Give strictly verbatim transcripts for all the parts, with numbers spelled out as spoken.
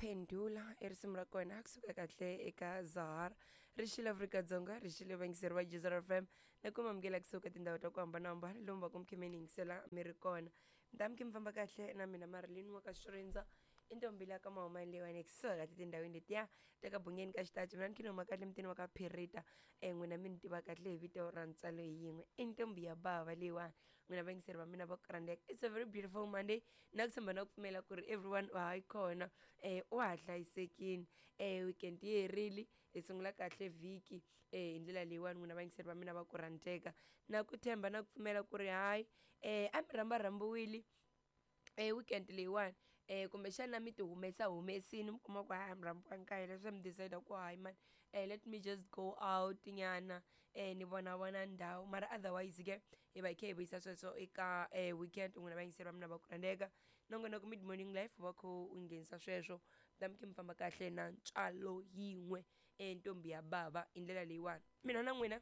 Pendula i risimu ra kona kusuka kahle eka Zahara ri xile Afrika-Dzonga ri xile vayingiseri va Jizera F M na ku mamukela kusuka tindhawu ta ku hambanahambana lomu va ku mi khe mi ni yingisela mi ri kona mi ta mi khe mi famba kahle na mina Marilyn wa ka Swirinza i ntombi la ka mahumani leyiwani kusuka kahle tindhawini letiya ta ka bungeni ka xitachi mina ni khe ni huma kahle mutini wa ka Phirita um n'wina mi ni tiva kahle hi vito ra ntswalo hi yin'we i ntombi ya bava leyiwani n'wina vayingiseri va mina va ku rhandzeka. It's a very beautiful Monday na ku tshemba na ku pfumela ku ri everyone wa ha yi kona um wa ha hlayisekile um weekend yi herile hi sungula kahle vhiki um hi ndlela leyiwani n'wina vayingiseri va mina va ku rhandzeka na ku tshemba na ku pfumela ku ri hayi um a mi rhambarhambiwile e weekend leyiwani um kumbexana mi ti humesa humesini mi kuma ku hayi mi rhambiwangi ka hina swi mi decide ku hayi mani um let me just go out nyana um ni vona vona ndhawu mara otherwise ke hi va hi kha hi vuyisa sweswo eka um weekend n'wina vayingiseri va mina va ku rhandzeka nongonoko mid morning life va kho u nghenisa sweswo mi ta mi khe mi famba kahle na ntswalo yin'we um ntombi ya bava hi ndlela leyiwani mina na n'wina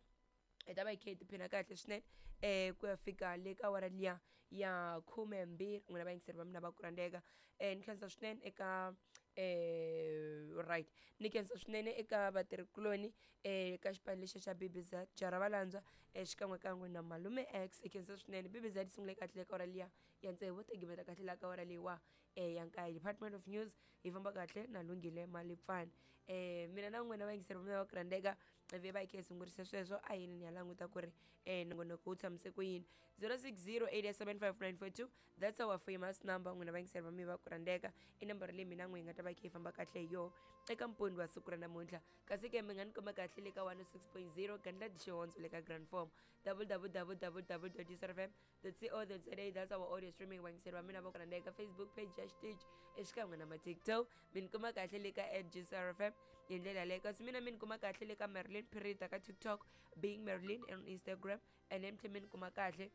hi ta va hi kha hi tiphina kahle swinene um ku ya fika le ka awara liya ya khumembirhi n'wina vayingiseri va mina va ku rhandzeka um ni khensa swinene eka um right ni khensa swinene eka vatirhikuloni um ka xipano lexiya xa B B Z jara valandzwa um xikan'wekan'we na malume X hi khensa swinene B B Z yi sungule kahle ka awara liya ya tsevu ta gimeta kahle la ka awara leyiwa um ya nkaye Department of News hi famba kahle na Lunghile Malipfani um mina na n'wina vayingiseri va mina va ku rhandzeka ivi va hi kha hi sungurise sweswo a yini ni ya languta ku ri um nongonoko wu tshamise ku yini zero six zero eight seven five nine four two that's our famous number n'wina vayingiseri va mina va ku rhandzeka i nambara leyi mina n'we hi nga ta va hi kha hi famba kahle hi yona eka mpundzu wa siku ra namuntlha kasi ke mi nga ni kuma kahle le ka one oh six point zero Gandla Xihondzo le ka Grand Form www dot f m dot co dot za that's our audio streaming vayingiseri va mina va ku rhandzeka Facebook page ya xitichi exikan'we na ma TikTok mi ni kuma kahle le ka at G S R F M hi ndlela yaleyo kasi mina mi ni kuma kahle le ka Marilyn Phirita ka TikTok, being Marilyn on Instagram, and then mi tlhela mi ni kuma kahle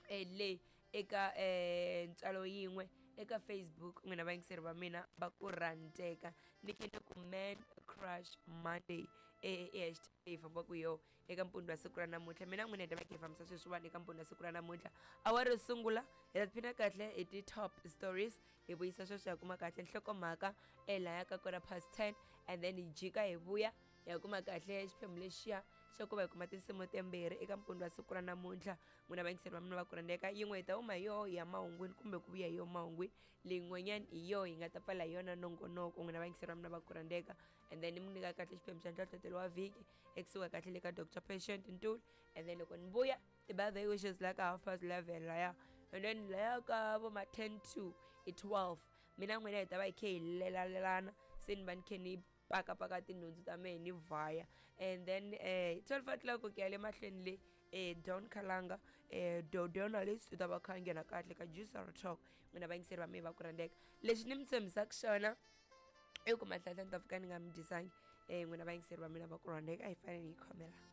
eh, le eka eh, ntswalo yin'we eka Facebook n'wina vayingiseri va mina va ku rhandzeka ni khe ni ku Man Crush Monday e i hashtag leyi fambaka hi yona eka mpundzu wa siku ra namuntlha mina n'wina hi ta va kha hi fambisa sweswiwani eka mpundzu wa siku ra namuntlha awara yo sungula hi ta tiphina kahle hi ti-top stories hi vuyisa sweswo hi kuma kahle nhlokomhaka e laya ka quarter past ten and then hi jika hi vuya hi ya kuma kahle xiphemu lexiya xa ku va hi kuma tinsimu timbirhi eka mpundzu wa siku ra namuntlha n'wina vayingiseri va mina va ku rhandzeka yin'we hi ta huma hi yoho ya mahungwini kumbe ku vuya hi yoho mahungwini leyin'wanyana hi yoho hi nga ta pfala hi yona nongonoko n'wina vayingiseri va mina va ku rhandzeka and then ni mi nyika kahle xiphemu xa nhlohlotelo wa vhiki ekusuka kahle le ka Doctor Patient Ntuli and then loko ni vuya ti-birthday wishes la ka half past eleven laya and then laya ka vo ma ten to i twelve mina n'wina hi ta va hi kha hi lelalelana se ni va ni khe ni pakapaka tinhundzu ta mehe ni vhaya and then eh twelve o'clock ku ya le mahlweni le eh Don Kalanga eh Dodonalist u ta va kha a nghena kahle ka Juicer Talk n'wina vayingiseri va mehe va ku rhandzeka lexi ni mi tshembisaka xona i ku mahlahla ni ta fika ni nga mi dyisangi um n'wina vayingiseri va mina va ku rhandzeka a hi fanele hi khomela.